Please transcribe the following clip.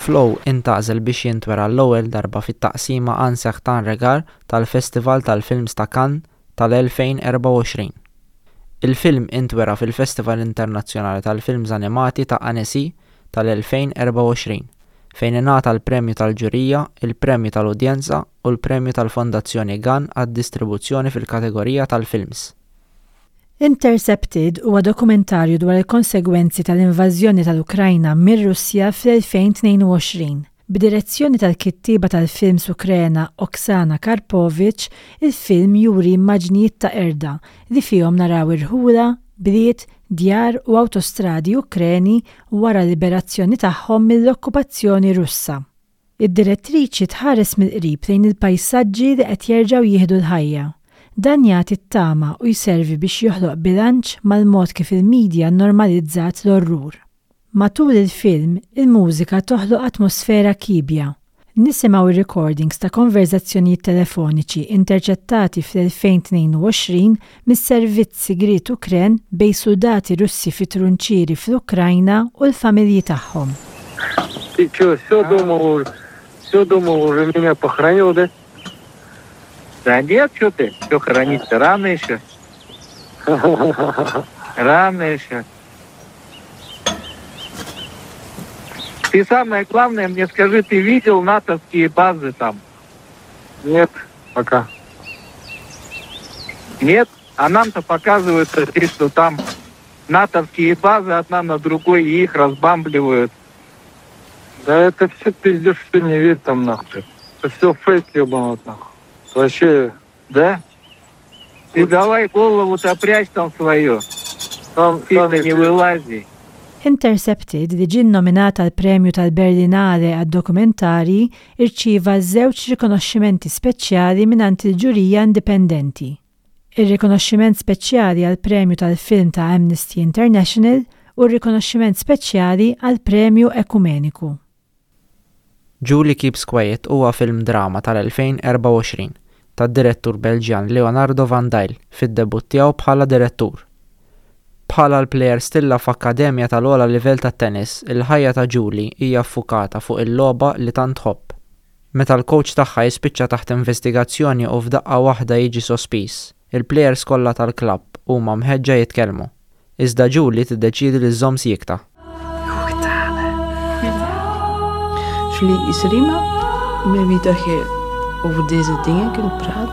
Flow intgħażel biex jintwera għall-ewwel darba fit-taqsima Un Certain Regard tal-Festival tal-Films ta' Cannes tal-2024. Il-film intwera fil-Festival Internazzjonali tal-Films Animati ta' Annecy tal-2024, fejn ingħata l-Premju tal-Ġurija, il-Premju tal-Udjenza u l-Premju tal-Fondazzjoni Gan għad-Distribuzzjoni fil-kategorija tal-Films. Intercepted huwa dokumentarju dwar il-konsegwenzi tal-invażjoni tal-Ukrajna mir-Russja fl-2022. B'direzzjoni tal-kittieba tal-films Ukrena Oksana Karpovych, il-film juri immaġnijiet ta' qerda li fihom naraw irħula, bliet, djar u awtostradi Ukreni wara l-liberazzjoni tagħhom mill-okkupazzjoni Russa. Id-direttriċi tħares mill-qrib lejn il-pajsaġġi li qed jerġgħu jieħdu l-ħajja. Dan jagħti t-tama u jservi biex joħloq bilanċ mal-mod kif il-media nnormalizzat l-orrur. Matul il-film, il-mużika toħloq atmosfera kiebja. Nisimgħu r-recordings ta' konverżazzjonijiet telefoniċi interċettati fl-2022 mis-servizz sigriet Ukren bejn suldati Russi fi trunċieri fl-Ukrajna u l-familji tagħhom. Ты что, все думал, все думал, уже меня похоронил, да? Да нет, что ты, все хоронить-то рано еще. Рано еще. Ты самое главное мне скажи, ты видел натовские базы там? Нет, пока. Нет? А нам-то показывают, что там натовские базы одна на другой, и их разбамбливают. Да это все пиздеж, что не верь там нахуй. Это все фейк ебаный нахуй. Вообще... Да? Ты давай голову-то прячь там свою. Там, Сильно не вылази. Intercepted, li ġie nnominat għall-Premju tal-Berlinale għad-Dokumentarji, irċieva żewġ rikonoxximenti speċjali mingħand il-ġurija indipendenti. Ir-rikonoxximent speċjali għall-Premju tal-Film ta' Amnesty International u r-rikonoxximent speċjali għall-Premju Ekumeniku. Julie Keeps Quiet huwa film drama tal-2024 tad-direttur Belġjan Leonardo Van Dijl fid-debutt tiegħu bħala direttur. Bħala l-plejer stilla f'akkademja tal-ogħla livell tat-tennis, il-ħajja ta' Julie hija ffukata fuq il-logħba li tant tħobb. Meta l-kowċ tagħha jispiċċa taħt investigazzjoni u f'daqqa waħda jiġi sospiż, il-plejers kollha tal-klabb huma mħeġġa jitkellmu. Iżda Julie tiddeċiedi li żżomm siekta. Julie is er iemand met wie dat je over deze dingen kunt praten.